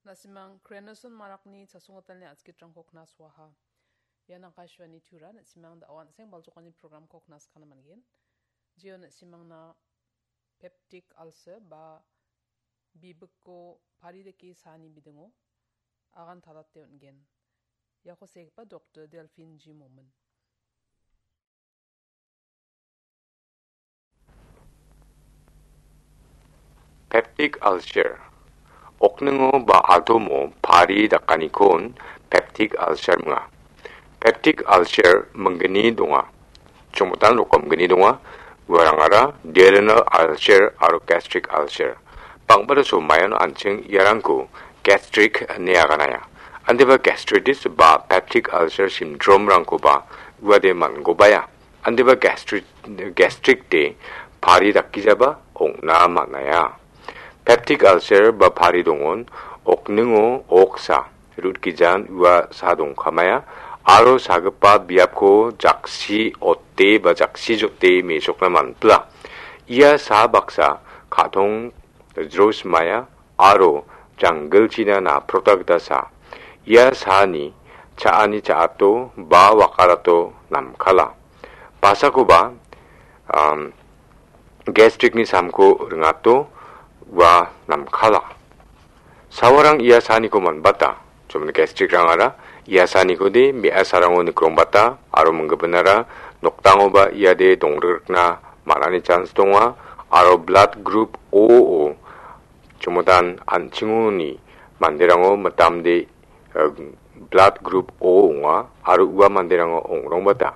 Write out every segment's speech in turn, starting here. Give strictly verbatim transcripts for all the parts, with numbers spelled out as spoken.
Na·simang Krenason Marakni chasonggitalni a·skitrangko knaswaha. Ian Akashvani Tura, na·simang da·o an·seng baljokani programko knaskana man·gen. Jio na·simangna peptic ulcer ba bibikko pari dake saani bidingo agan talate on·gen. Iako segipa Doktor Delphine G. Momin. Peptic ulcer. Okningo ba aldomo pari dakanikon peptic ulcer minga. Peptic ulcer minggni donga. Chongmotan rokom gni donga. Uarangara duodenal ulcer aro gastric ulcer. Bang·bata somaion an·ching iarangko gastric ine aganaya. Andiba gastritis ba peptic ulcer syndrome-rangkoba uade man·gobaya. Andiba gastri-, gastric de pari dakgijaba ong·na man·aia. Peptic ulcer ba pari dongon, okningo oksa, rutgijan ua sa dongkamaya, aro sagipa biapko jaksi ote ba jaksi jote mesokna man·pila. Ia sa baksa ka·tong jrosmaya aro janggilchina naprota gita sa. Ia saani cha·ani cha·ato ba wakarato namkala. Basakoba, am, gastricni samko ringato ua namkala. Sawarang ia saaniko man·bata. Chomni gastricrangara ia saanikode me·asarango nikrongbata aro minggipinara nokdangoba iade dongrikrikna man·ani chans donga aro blood group O-o chomotan an·chingoni manderango mitamde, eh, blood group O ong·a aro ua manderango ong·rongbata.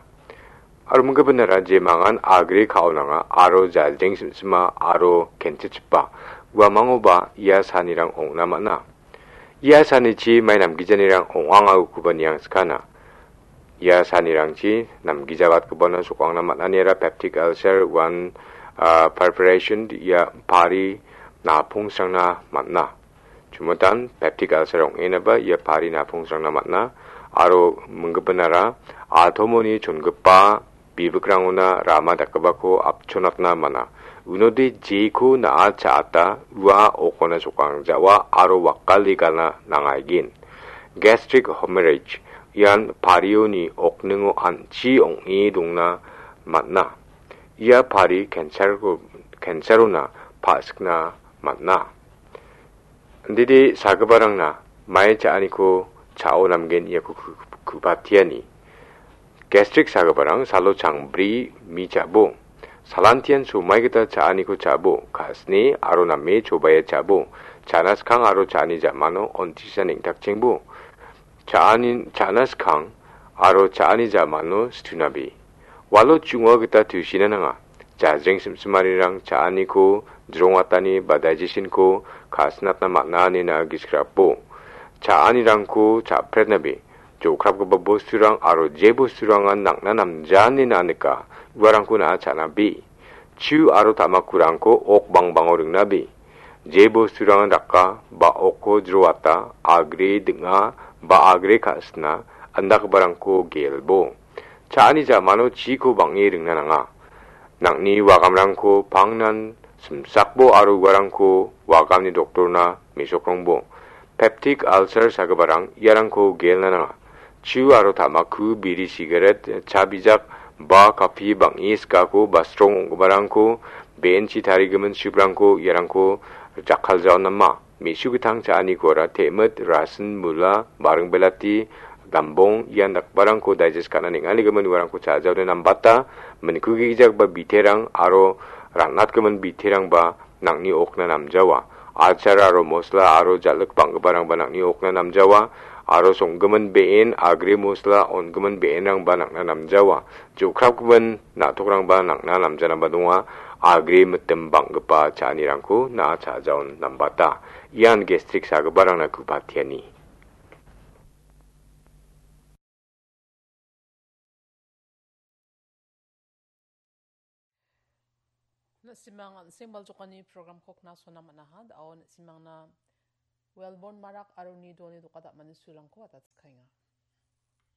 Aro minggipinara jemangan agre ka·onanga aro jajreng simsima aro kenchichipa uamangoba ia saanirang ong·na man·a. Ia saanichi mai namgijanirang ong·angakoba niangskana. Ia saanirangchi namgijabatgipana sokangna man·aniara peptic ulcer, one, ah, perforation, ia pari napungsrangna man·a. Chumotan peptic ulcer ong·enaba ia pari napungsrangna man·a aro minggipinara altomoni chongipa bibikrangona rama dakgipako apchonatna man·a. Unode jeko na·a cha·ata ua okona sokang ja·oa aro wakale galna nangaigen. Gastric hemorrhage ian parioni okningo an·chi ong·e dongna man·a. Ia pari cancer-ko, cancer-ona pa·sikna man·a. Indide sagiparangna mai cha·aniko cha·o namgen iako ku-, ku-, ku·patiani. Gastric sagiparang salo changbri mi cha·bo. Salantian somai gita cha·aniko cha·bo. Ka·sne aro name chobea cha·bo. Cha·na skang aro cha·ani ja·mano on·tisa neng·takchengbo. Cha·ani, cha·na skang aro cha·ani ja·mano situnabe. Walo chu·nga gita tusiana nanga. Jajreng simsimarirang cha·aniko jrongatani ba digestion-ko ka·sinatna man·a ine na·a gisik rapo. Cha·anirangko cha·pretnabe. Jokrapgipa bosturang aro je bosturangan nang·na namja ine na·a nika, uarangko na·a cha·nabe. Chu aro tamakurangko ok bangbango ringnabe. Je bosturangan raka ba okko jroata, agre ding·a ba agre ka·sina, indakgiparangko gelbo. Cha·ani ja·mano chiko bang·e ringna nanga. Nang·ni wagamrangko pangnan simsakbo aro uarangko wagamni doktorna me·sokrongbo. Peptic ulcer sagiparang iarangko gelna nanga. Chu aro tamaku, biri sigaret, cha bijak, ba kapi bang·e sikako ba strong ong·giparangko, be·enchi tarigimin suprangko iarangko jakkaljaon nama. Me·su gitang cha·anikora te·mit, rasin, mula, baring belati, dambong ian dakgiparangko digest ka·na neng·aligimin uarangko cha·jaode nambata, minkugijagipa biterang aro ran·atgimin biterangba nang·ni okna namjawa. Achar aro mosla aro jal·ik bang·giparangba nang·ni okna namjawa. Aro song·gimin be·en, agre mosla on·gimin be·enrangba nang·na namjawa. Jokrapgimin na·tokrangba nang·na namjanaba donga. Agre mitim bang·gipa cha·anirangko na·a cha·jaon nambata. Ian gastric sagiparangna ku·patiani. Na·simang an·seng baljokani programko knasona man·aha. Da·o na·simangna Wellborn Marak aro uni doni doka dam·ani sulrangko atatskaenga.